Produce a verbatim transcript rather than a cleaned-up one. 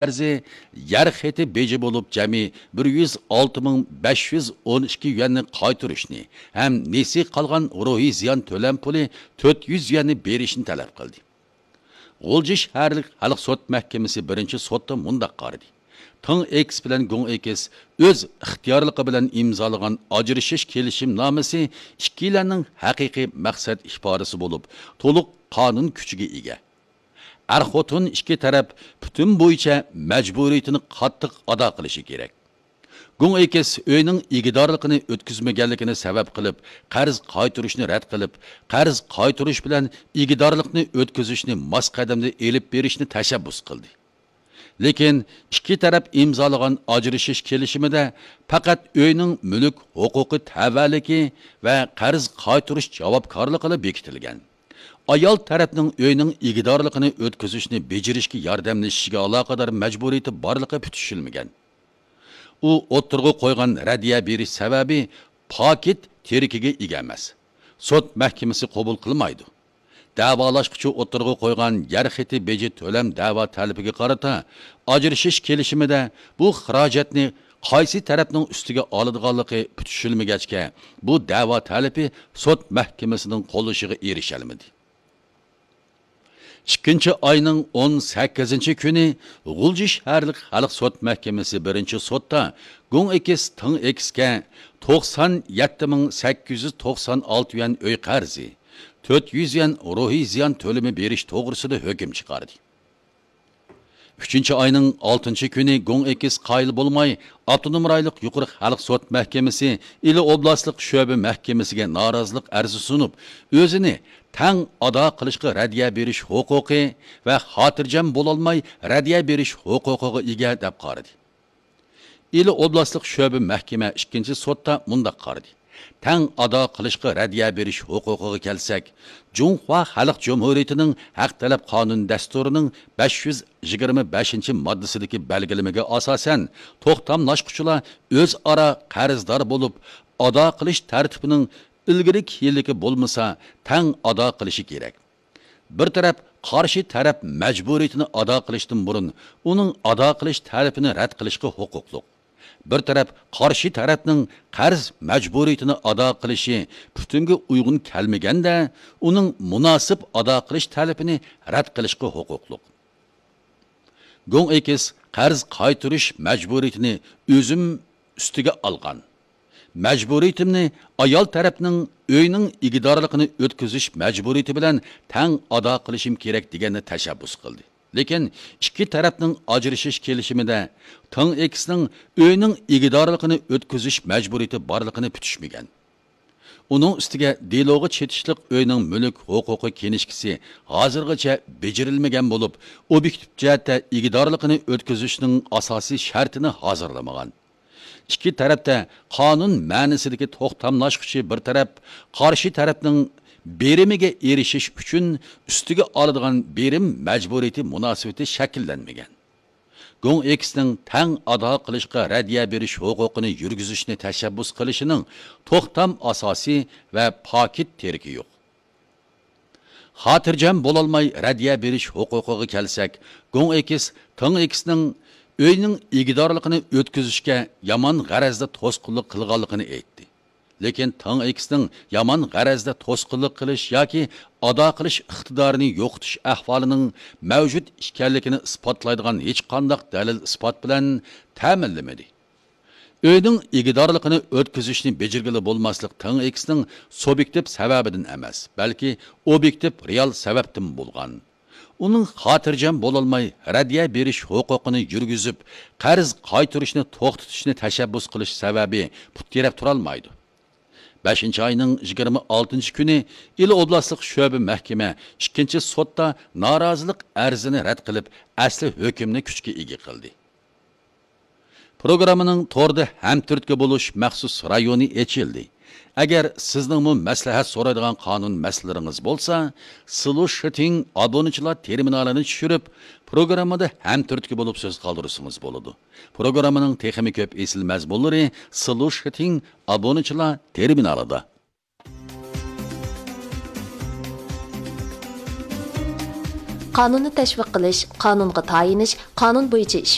قەرزى، يەر خېتى بېجى بولۇپ جەمئىي بىر يۈز ئالتە مىڭ بەش يۈز ئون ئىككى يۈەننى قايتۇرۇشنى ھەم نېسى قالغان روھىي زىيان تۆلەم پۇلى تۆت يۈز يۈەننى بېرىشنى تەلەپ قىلدى. غۇلجا شەھەرلىك خەلق سوت مەھكىمىسى بىرىنچى سوتتا مۇنداق قارىدى: تېڭ ئېكس بىلەن گۇڭ ئېكس ئۆز ئىختىيارلىقى بىلەن ئىمزالىغان ئاجرىشىش كېلىشىمنامىسى ئىككىيلەننىڭ ھەقىقىي مەقسەت ئىپادىسى بولۇپ، تولۇق قانۇن كۈچىگە ئىگە. ئەر-خوتۇن ئىككى تەرەپ پۈتۈن بويىچە مەجبۇرىيىتىنى قاتتىق ئادا قىلىشى كېرەك. گۇڭ ئېكس ئۆينىڭ ئىگىدارلىقىنى ئۆتكۈزمىگەنلىكىنى سەۋەب قىلىپ، قەرز قايتۇرۇشنى رەت قىلىپ، قەرز قايتۇرۇش بىلەن ئىگىدارلىقنى ئۆتكۈزۈشنى ماس قەدەمدە ئېلىپ بېرىشنى تەشەببۇس قىلدى. لېكىن ئىككى تەرەپ ئىمزالىغان ئاجرىشىش كېلىشىمىدە پەقەت ئۆينىڭ مۈلۈك ھوقۇقى تەۋەلىكى ۋە قەرز قايتۇرۇش جاۋابكارلىقىلا بېكىتىلگەن. ئايال تەرەپنىڭ ئۆينىڭ ئىگىدارلىقىنى ئۆتكۈزۈشنى بېجىرىشكە ياردەملىشىشىگە ئالاقىدار مەجبۇرىيىتى بارلىقى پۈتۈشۈلمىگەن. ئۇ ئوتتۇرىغا قويغان رەددىيە بېرىش سەۋەبى پاكىت تىرىكىگە ئىگە ئەمەس. سوت مەھكىمىسى قوبۇل قىلمايدۇ. دەۋالاشقۇچى ئوتتۇرىغا قويغان يەر خېتى بېجى تۆلەم دەۋا تەلىپىگە قارىتا ئاجرىشىش كېلىشىمىدە بۇ خىراجەتنى قايسى تەرەپنىڭ ئۈستىگە ئالىدىغانلىقى پۈتۈشۈلمىگەچكە، بۇ دەۋا تەلىپى سوت مەھكىمىسىنىڭ قوللىشىغا ئېرىشەلمىدى. ئىككىنچى ئاينىڭ ئون سەككىزىنچى كۈنى غۇلجا شەھەرلىك خەلق سوت مەھكىمىسى بىرىنچى سوتتا گۇڭ ئېكس تېڭ ئېكسكە توقسان يەتتە مىڭ سەككىز يۈز توقسان ئالتە يۈەن ئۆي قەرزى، تۆت يۈز يۈەن روھىي زىيان تۆلىمى بېرىش توغرىسىدا ھۆكۈم چىقاردى. ئۈچىنچى ئاينىڭ ئالتىنچى كۈنى گۇڭ ئېكس قايىل بولماي، ئاپتونوم رايونلۇق يۇقىرى خەلق سوت مەھكىمىسى ئىلى ئوبلاستلىق شۆبە مەھكىمىسىگە نارازىلىق ئەرزى سۇنۇپ، ئۆزىنى تەڭ ئادا قىلىشقا رەددىيە بېرىش ھوقۇقى ۋە خاتىرجەم بولالماي رەددىيە بېرىش ھوقۇقىغا ئىگە دەپ قارىدى. ئىلى ئوبلاستلىق شۆبە مەھكىمە ئىككىنچى سوتتا مۇنداق قارىدى: تەڭ ئادا قىلىشقا رەددىيە بېرىش ھوقۇقىغا كەلسەك، جۇڭخۇا خەلق جۇمھۇرىيىتىنىڭ ھەق تەلەپ قانۇن دەستۇرىنىڭ بەش يۈز يىگىرمە بەشىنچى ماددىسىدىكى بەلگىلىمىگە ئاساسەن، توختاملاشقۇچىلار ئۆزئارا قەرزدار بولۇپ، ئادا قىلىش تەرتىپىنىڭ ئىلگىرى كېيىنلىكى بولمىسا، تەڭ ئادا قىلىشى كېرەك. بىر تەرەپ قارشى تەرەپ مەجبۇرىيىتىنى ئادا قىلىشتىن بۇرۇن، ئۇنىڭ ئادا قىلىش تەلىپىنى رەت قىلىشقا ھوقۇقلۇق. بىر تەرەپ قارشى تەرەپنىڭ قەرز مەجبۇرىيىتىنى ئادا قىلىشى پۈتۈنگە ئۇيغۇن كەلمىگەندە، ئۇنىڭ مۇناسىپ ئادا قىلىش تەلىپىنى رەت قىلىشقا ھوقۇقلۇق. گوڭ ئېكىس قەرز قايتۇرۇش مەجبۇرىيىتىنى ئۆزۈم ئۈستىگە ئالغان. مەجبۇرىيىتىمنى ئايال تەرەپنىڭ ئۆينىڭ ئىگىدارلىقىنى ئۆتكۈزۈش مەجبۇرىيىتى بىلەن تەڭ ئادا قىلىشىم كېرەك دېگەننى تەشەببۇس قىلدى. لېكىن ئىككى تەرەپنىڭ ئاجرىشىش كېلىشىمىدە تېڭ ئېكىسنىڭ ئۆينىڭ ئىگىدارلىقىنى ئۆتكۈزۈش مەجبۇرىيىتى بارلىقىنى پۈتۈشمىگەن. ئۇنىڭ ئۈستىگە دېلوغا چېتىشلىق ئۆينىڭ مۈلۈك ھوقۇقى كىنىشكىسى ھازىرغىچە بېجىرىلمىگەن بولۇپ، ئوبيېكتىپ جەھەتتە ئىگىدارلىقىنى ئۆتكۈزۈشنىڭ ئاساسىي شەرتىنى ھازىرلىمىغان. ئىككى تەرەپتە قانۇن مەنىسىدىكى توختاملاشقۇچى بىر تەرەپ قارشى تەرەپنىڭ بېرىمىگە ئېرىشىش ئۈچۈن ئۈستىگە ئالىدىغان بېرىم مەجبۇرىيىتى مۇناسىۋىتى شەكىللەنمىگەن. گوڭ ئېكىسنىڭ تەڭ ئادا قىلىشقا رەددىيە بېرىش ھوقۇقىنى يۈرگۈزۈشنى تەشەببۇس قىلىشىنىڭ توختام ئاساسى ۋە پاكىت تىرىكى يوق. خاتىرجەم بولالماي رەددىيە بېرىش ھوقۇقىغا كەلسەك، گوڭ ئېكىس تېڭ ئېكىسنىڭ ئۆينىڭ ئىگىدارلىقىنى ئۆتكۈزۈشكە يامان غەرەزدە توسقۇنلۇق قىلغانلىقىنى ئېيتتى. لېكىن تېڭ ئېكىسنىڭ يامان غەرەزدە توسقۇنلۇق قىلىش ياكى ئادا قىلىش ئىقتىدارىنى يوقىتىش ئەھۋالىنىڭ مەۋجۇت ئىكەنلىكىنى ئىسپاتلايدىغان ھېچقانداق دەلىل-ئىسپات بىلەن تەمىنلىمىدى. ئۆينىڭ ئىگىدارلىقىنى ئۆتكۈزۈشنى بېجىرگىلى بولماسلىق تېڭ ئېكىسنىڭ سۇبيېكتىپ سەۋەبىدىن ئەمەس، بەلكى ئوبيېكتىپ رېئال سەۋەبتىن بولغان. ئۇنىڭ خاتىرجەم بولالماي رەددىيە بېرىش ھوقۇقىنى يۈرگۈزۈپ، قەرز قايتۇرۇشنى توختىتىشنى تەشەببۇس قىلىش سەۋەبى پۇت تىرەپ تۇرالمايدۇ. بەشىنچى ئاينىڭ يىگىرمە ئالتىنچى كۈنى ئىلى ئوبلاستلىق شۆبە مەھكىمە ئىككىنچى سوتتا نارازىلىق ئەرزىنى رەت قىلىپ، ئەسلى ھۆكۈمنى كۈچكە ئىگە قىلدى. پروگراممىنىڭ توردا ھەمتۈرتكە بولۇش مەخسۇس رايونى ئېچىلدى. ئەگەر سىزنىڭمۇ مەسلىھەت سورايدىغان قانۇن مەسىلىلىرىڭىز بولسا، سلۇشىتىڭ ئابۇنىچىلار تېرمىنالىنى چۈشۈرۈپ، پروگراممىدا ھەمتۈرتكە بولۇپ سۆز قالدۇرسىڭىز بولىدۇ. پروگراممىنىڭ تېخىمۇ كۆپ ئېسىل مەزمۇنلىرى سلۇشىتىڭ ئابۇنىچىلار تېرمىنالىدا. قانۇننى تەشۋىق قىلىش، قانۇنغا تايىنىش، قانۇن بويىچە ئىش